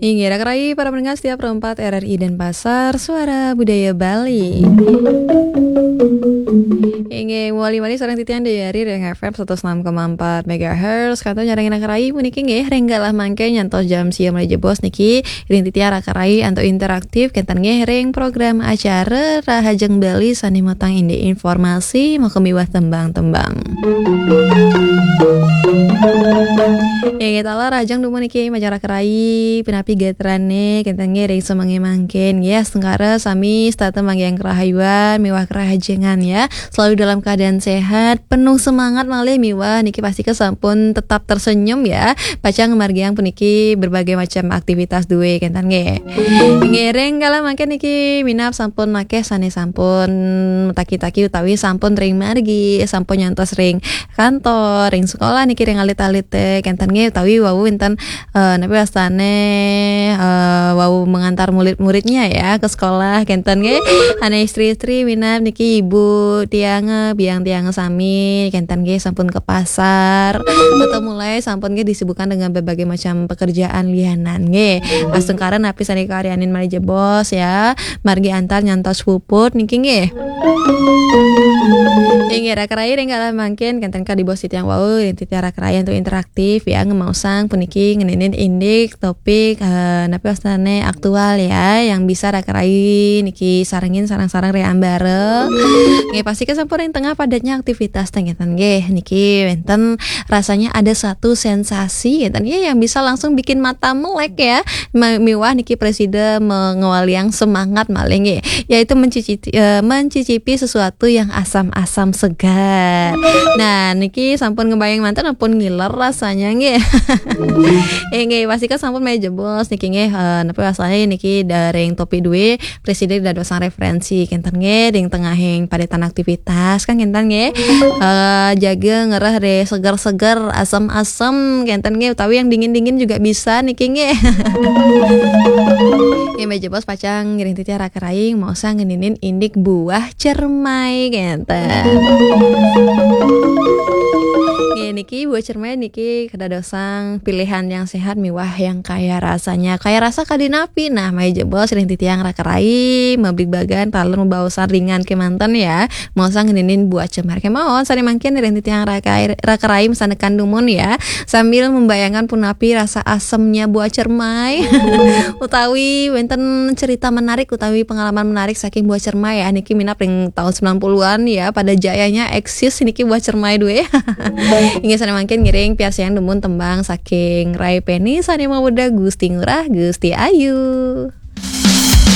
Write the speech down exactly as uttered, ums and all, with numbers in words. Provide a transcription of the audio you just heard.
Inggih, raka rayi para pendengar setia Pro empat R R I Denpasar, Suara Budaya Bali. Inggih, mawali malih sareng titiang Dayari ring F M satus enam koma empat megahertz. Kantun nyarengin raka rayi puniki nggih, ring galah mangkin nyantos jam sia malih jebos niki, ring titiang raka rayi antuk interaktif, kenten nggih ring program acara Rahajeng Bali sane matang indik informasi, maka miwah tembang-tembang. Inggih taler, rahajeng dumun niki majeng raka rayi, punapi gatrane, kenten nggih ring semenge mangkin. Ya, astungkara sami setata manggihin karahayuan miwah karahajengan ya. Selalu dalam keadaan sehat, penuh semangat malih miwah niki pastika sampun tetap tersenyum ya. Pacang ngamargiang puniki berbagai macam aktivitas duwe, kenten nggih. Ngiring kala mangkin niki minab sampun akeh sane sampun mataki-taki utawi sampun ring margi, sampun nyantos ring kantor, ring sekolah niki ring alit-alite, kenten nggih, utawi wau wenten, eh, napi wastane, eh, wau mengantar murid-muridnya ya ke sekolah, kenten nggih. Ane istri-istri minab niki ibu tiang, eh, biang tiang sami, kenten nggih, sampun ke pasar. Atau mulai sampun nggih disibukkan dengan berbagai macam pekerjaan lianan nggih. Astungkara napi sane karyanin malih jebos ya. Margi antar nyantos puput niki nggih. Inggih, raka rayi ring kala mangkin kenten kadi bos titiang wau, ring titiang raka rayi antuk interaktif ya, ngemaosang puniki ngeninin indik topik, eh, napi wastane aktual ya, yang bisa raka rayi niki sarengin sareng-sareng ring ambara. Nggih, pastika sampun ring tengah padatnya aktivitas teng kenten nggih. Niki wenten rasanya ada satu sensasi kenten nggih yang bisa langsung bikin mata melek ya. Ma-, miwah niki presida me-, ngawaliang semangat malih nggih, yaitu mencicipi, eh, mencicipi sesuatu yang asam-asam segar. Nah, niki sampun ngebayang manten ampun ngiler rasanya nggih. Eh, nggih, pastika sampun malih jebos niki nggih, eh, napi wastane niki ring topik duwe presida dadosang referensi kenten nggih ring tengahing padetan aktivitas kan kenten nggih. Eh, jaga ngereh re seger-seger, asem-asem kenten nggih, utawi yang dingin-dingin juga bisa niki nggih. Nggih, malih jebos pacang ngiring titiang raka rayi maosang ngeninin indik buah cermai kenten. Nggih, niki buah cermai niki kadadosang pilihan yang sehat miwah yang kaya rasanya. Kaya rasa kadi napi? Nah, malih jebos ring titiang raka rayi mabligbagan taler mabaosan ringan kemanten ya. Maosang ngeninin buah cermai kemawon, sane mangkin ring titiang raka, raka rayi masanekan dumun ya, sambil membayangkan punapi rasa asemnya buah cermai. Utawi wenten cerita menarik utawi pengalaman menarik saking buah cermai ya, niki minab ring tahun sembilan puluhan ya, pada jayanya eksis niki buah cermai duwe. Inggih, sane mangkin ngiring piarsayang dumun tembang saking Rai Peni sane mawedah Gusti Ngurah, Gusti Ayu.